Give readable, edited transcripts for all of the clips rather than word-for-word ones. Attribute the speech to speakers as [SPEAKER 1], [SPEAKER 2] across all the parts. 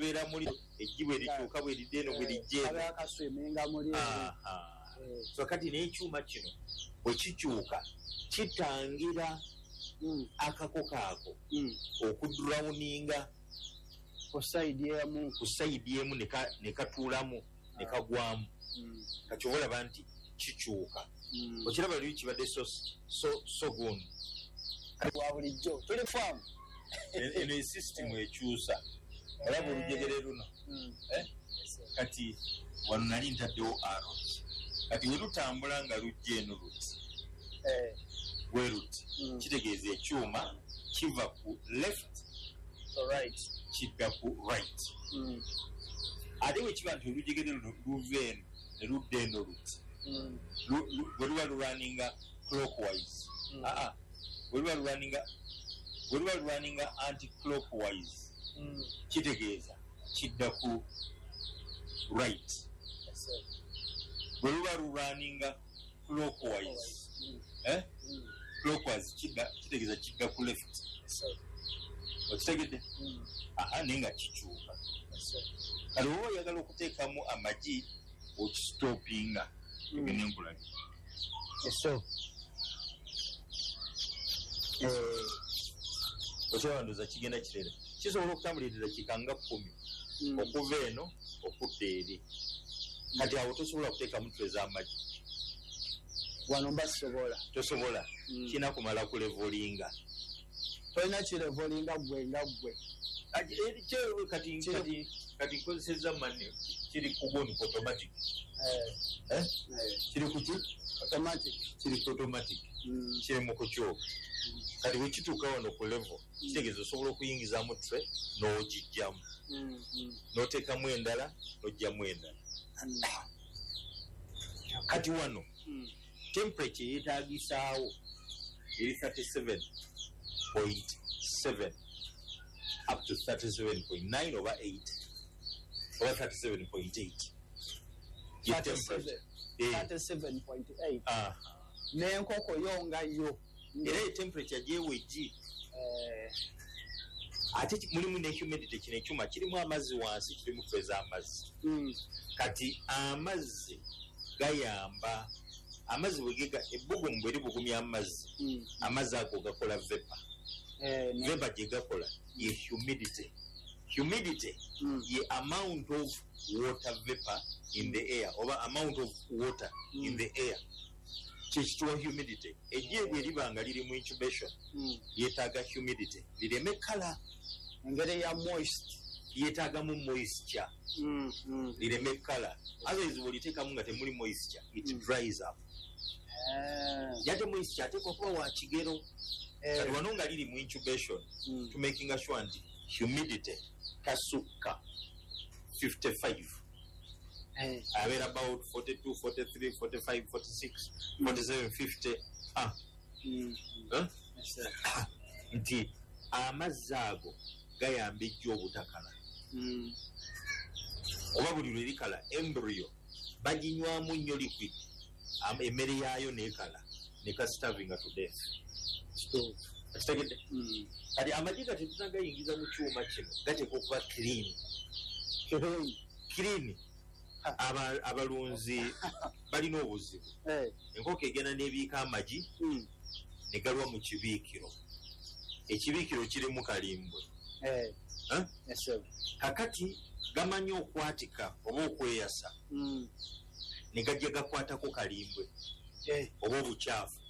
[SPEAKER 1] Kabeera muli eggi bwe likyuka, bwe lidda eno, bwe lijja eno.
[SPEAKER 2] Kabeera kaswiminga muli eri.
[SPEAKER 1] Aha. So kati n'ekyuma kino bwe kikyuka, kitangira akakoko ako okudrowninga
[SPEAKER 2] ku side emu.
[SPEAKER 1] Ku side emu ne katuulamu ne kagwamu. Kati oba olaba nti kikyuka. Okiraba luli kibadde so gundi.
[SPEAKER 2] Wa bulijjo tuli faamu.
[SPEAKER 1] Eno esystem ekyusa, olaba olujegere luno? Eh? Kati wano nali ntaddewo arrows. Kati we lutambula nga lujja eno luti, bwe luti, kitegeeza ekyuma kiva ku left kidda ku right. Ate bwe kiba nti olujegere luno luva eno ne ludda eno luti, bwe luba lurunninga clockwise, aa, bwe luba lurunninga anti clockwise, kitegeeza kidda ku right. Bwe luba lurunninga clockwise, eh? Clockwise kitegeeza kidda ku left. Okitegedde? Aha, naye nga kikyuka. Kati oba oyagala okuteekamu amagi, okistopinga, egende nkulage.
[SPEAKER 2] So
[SPEAKER 1] Okiraba, ndooza kigenda kireera, kisobola okutambulira eddakiika nga 10 okuva eno okudda eri. Kati awo tosobola kuteekamu tray z'amagi.
[SPEAKER 2] Wano mba sisobola.
[SPEAKER 1] Tosobola. Kirina kumala kulevelinga.
[SPEAKER 2] Tolina kilevelinga gwe nga gwe.
[SPEAKER 1] Kati nkozesezza manne, kiri ku gundi, ku automatic. Eh? Kiri ku ki?
[SPEAKER 2] Automatic.
[SPEAKER 1] Kiri ku automatic. Kiri mu kukyuka. Kati bwe kituuka wano ku level, kitegeeza osobola okuyingizamu tray n'ogijjamu, n'oteekamu endala, n'ojjamu endala. Kati wano temperature yeetaagisaawo eri 37.7 up to 37.9 oba 8 oba 37.8 ye temperature.
[SPEAKER 2] 37.8.
[SPEAKER 1] Aha.
[SPEAKER 2] N'enkoko yo nga yo.
[SPEAKER 1] Era ye temperature gyewa eggi. Ate mulimu ne humidity. Kino ekyuma kirimu amazzi wansi, kirimu tray z'amazzi. Kati amazzi gayamba, amazzi bwe ebbugumu bwe libugumya amazzi, amazzi ago gakola vapour. Vapour gye gakola ye humidity. Humidity ye amount of water vapor in the air oba amount of water in the air, kyekituwa humidity. Eggi bwe liba nga liri mu incubation, lyetaaga humidity lireme kala.
[SPEAKER 2] Engeri ya moist.
[SPEAKER 1] Lyetaagamu moisture lireme kala. Otherwise bwoliteekamu nga temuli moisture, it dries up. Yate moisture ateekwa kuba wa kigero. Kati wano nga liri mu incubation, tumakinga sure nti humidity tasukka 55. Abeera about 42, 43, 45, 46, 47, 50, ah. Eh?
[SPEAKER 2] Yes, sir.
[SPEAKER 1] Nti amazzi ago gayamba ejjo obutakala, oba buli lwe likala, embryo baginywamu nnyo liquid, emmere yaayo nekala nekastarvinga to death.
[SPEAKER 2] Kituufu.
[SPEAKER 1] Kitegedde? Kati amagi ga tetunagayingiza mu kyuma kino, gateekwa okuba clean.
[SPEAKER 2] Clean.
[SPEAKER 1] Clean. Abalunzi balina obuzibu. Enkoko egenda n'ebiika amagi ne galwa mu kibiikiro, ekibiikiro kirimu kalimbwe. Eh?
[SPEAKER 2] Yes, sir.
[SPEAKER 1] Kakati gamanyi okwatika oba okweyasa ne gajja gakwatako kalimbwe oba obukyafu.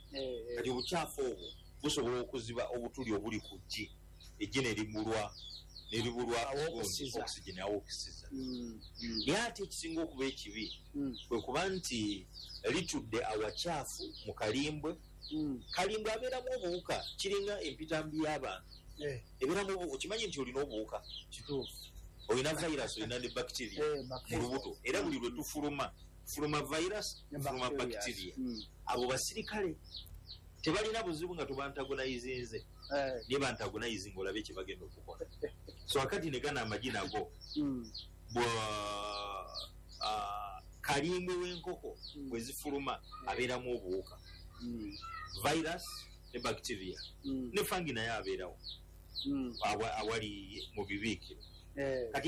[SPEAKER 1] Kati obukyafu obwo busobola okuziba obutuli obuli ku ggi, eggi ne libulwa
[SPEAKER 2] Awokusiza.
[SPEAKER 1] oxygen awokusiza. Naye ate ekisinga okuba ekibi kwe kuba nti litudde awakyafu mu kalimbwe. Kalimbwe abeeramu obuwuka, kiringa empitambi y'abantu. Ebeeramu obuwuka. Okimanyi nti olina obuwuka?
[SPEAKER 2] Kituufu.
[SPEAKER 1] Olina virus, olina ne bacteria mu
[SPEAKER 2] bacteria.
[SPEAKER 1] lubuto. Era buli lwe tufuluma, fuluma virus,
[SPEAKER 2] Ne
[SPEAKER 1] fuluma
[SPEAKER 2] bacterias.
[SPEAKER 1] bacteria. Abo basirikale tebalina buzibu nga tubantagonizinze, naye bantagonizinga olabe kye bagenda okukola. So akati ne gano amagi nago bwa kalimbwe w'enkoko bwe zifuluma abeeramu obuwuka, virus ne bacteria, ne fungi naye abeerawo awali mu bibiikiro. Kati